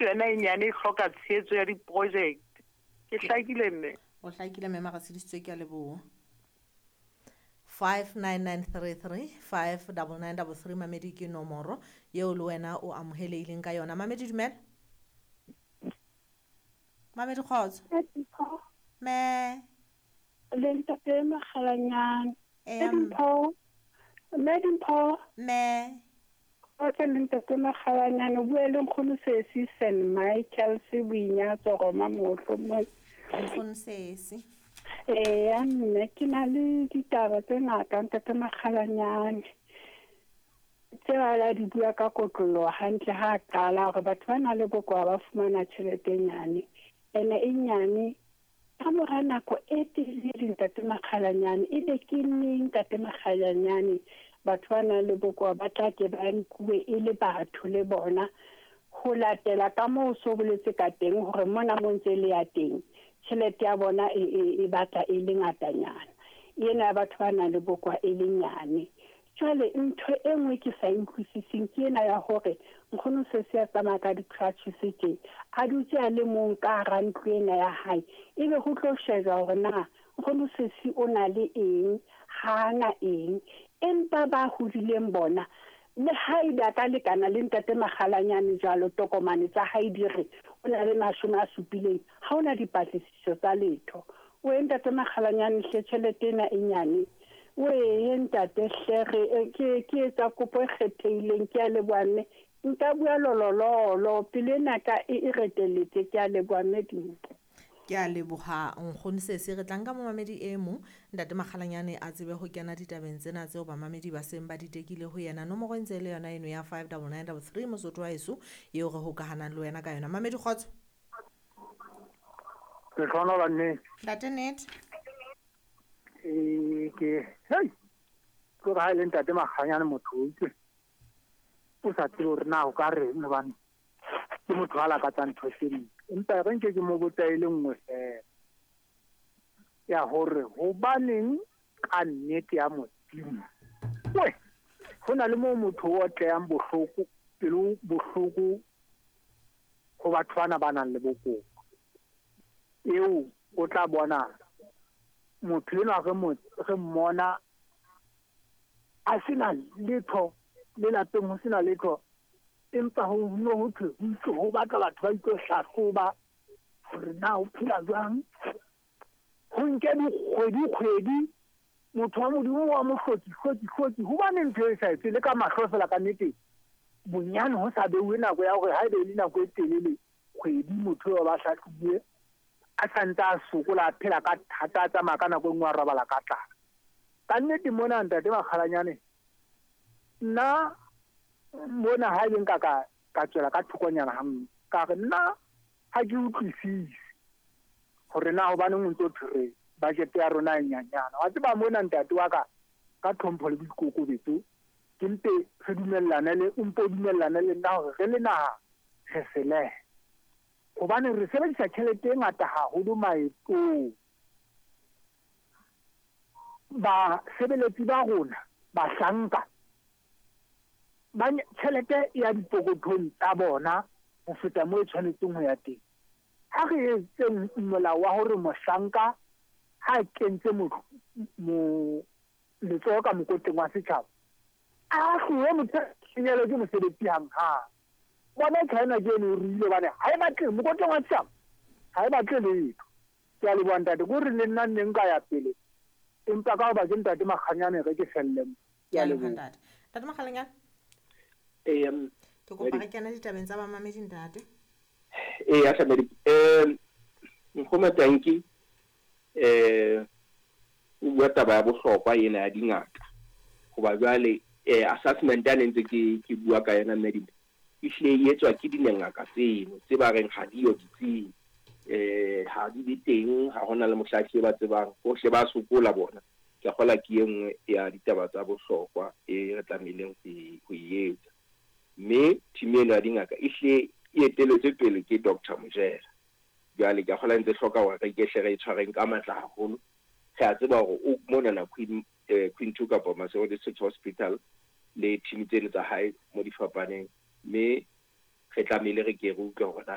Yona e nyane e hloka tshehetso ya diprojekte. Ke hlakile mme? O hlakile mme Maratshedisitswe, ke a leboha. 59933 59933 mamedi ke nomoro yeo le wena o amohelehileng ka yona. Mamedi dumela. Mamedi kgotso. Me. Le ntate Makgalanyane. Eya. Dimpho. Mme Dimpho. Me. Kgotso le ntate Makgalanyane, o bua le nkgono Sesi St Michael se Boinyatso Roma Mohlo mo. Nkgono Sesi. Eya mme ke na le ditaba tse ngata ntate Makgalanyane. Tse a di bua ka kotloloho hantle ha a qala hore batho ba nang le bokowa ba fumana tjhelete e nyane. Ene e nyane ka mora nako e telele ntate Makgalanyane, ebe ke neng ntate Makgalanyane batho ba nang le bokowa ba tla ke ba nkuwe e le batho le bona ho latela ka moo so boletse ka teng hore mona mo ntse le ya teng tjhelete ya bona e batla e le ngatanyana, ena ya batho ba nang le bokowa e le nyane. Jwale ntho e nngwe ke sa e utlwisising ke ena ya hore nkgono Sesi a tsamaya ka di-crutches tje, a dutse a le mong ka hara ntlo ena ya hae, ebe ho tlo shejwa hore na nkgono Sesi o na le eng, ha a na eng. Empa ba hodileng bona le haebe a ka lekana le ntate Makgalanyane jwalo, tokomane tsa hae di re o na le 70, ha hona dipatlisiso tsa letho. O e ntate Makgalanyane hle, tjhelete ena e nyane. O e ntate hle, re ke etsa kopo e kgethehileng, ke a leboha mme. Nka bua lolololo, pelo ena ka e reteletse, ke a leboha mme Dimpho. Ke a leboha nkgono Sesi. Re tla nka momamedi e mong ntate Makgalanyane a tsebe ho kena ditabeng tsena tseo bamamedi ba seng ba di tekile ho yena. Nomoro e ntse e le yona eno ya 59933 Mosotho wa heso eo re hokahanang le wena ka yona. Mamedi kgotso. Lehlohonolo nnete. Ntate nnete. Ke hei ke re ha e le ntate Makganyane motho o utlwe o sa tsebe hore na o ka reng, hobane ke motho a lakatsang ntho tse ding. Empa re nke ke mo botsa e le nngwe fela ya hore hobaneng ka nnete ya Modimo we ho na le moo motho o otlehang bohloko, pelo bohloko ho batho bana ba nang le bokowa. Eo o tla bona motho enwa re mmona a sena letho le lapeng, ho sena letho, empa ho no ho thwe ho itse ho batla batho ba itlo hlahloba hore na o phela jwang. Ho nke dikgwedi kgwedi motho wa Modimo wa mo hlotsi hlotsi hlotsi, hobane ntho e sa etse le ka mahlo fela ka nnete. Bonyane ho sa beuwe nako ya hore haebe e le nako e telele kgwedi motho eo ba hlahlobuwe a sa ntse a sokola, a phela ka thata, a tsamaya ka nako e nngwe a robala ka tlala. Ka nnete mona ntate Makgalanyane, nna mona ha ebe nka ka tswela ka thokonyana ha nngwe, ka re nna ha ke utlwisise hore na hobaneng o ntso thwe budget ya rona e nyanyana. Wa tseba mona ntate wa ka, ka tlhompho le boikokobetso, ke mpe re dumellane le, o mpo dumellane le nna hore re le naha re selehe, hobane re sebedisa tjhelete e ngata haholo maetong. Basebeletsi ba rona, bahlanka, ba tjhelete ya dipokothong tsa bona ho feta moo e tshwanetseng ho ya teng. Ha re etseng molao wa hore mohlanka ha a kentse letsoho ka mokotleng wa setjhaba, a hlowe motho a senyelwe ke mosebetsi hanghang. Bona China ke eno e ruile hobane ha e batle mokotleng wa setjhaba, ha e batle letho. Ke a leboha ntate, ke hore le nna nne nka ya pele, empa ka hoba ke ntate Makganyane re ke felle mo. Ke a leboha ntate. Ntate Makgalanyane. Ke kopa re kene ditabeng tsa bamamedi ntate. Eya hle Nkgono Tanki o bua taba ya bohlokwa ena ya dingaka. Hoba jwale assessment ya ne ntse ke bua ka yona mme ehlile e etswa ke dingaka tseno tse ba reng ha diyo ditsing, ha di be teng, ha hona le mohla hlile ba tsebang hohle ba sokola bona. Ke a kgolwa ke e nngwe ya ditaba tsa bohlokwa e re tlamehileng ho e etsa. Mme team eno ya dingaka ehlile e eteletswe pele ke Dr. Mojela. Jwale ke a kgolwa ntse hloka hore re ke hle re e tshwareng ka matla haholo. Re a tseba hore o monana Queen 2 kapa Maseru District Hospital le team tseno tsa hae mo di fapaneng, mme re tlamehile re ke re utlwe hore na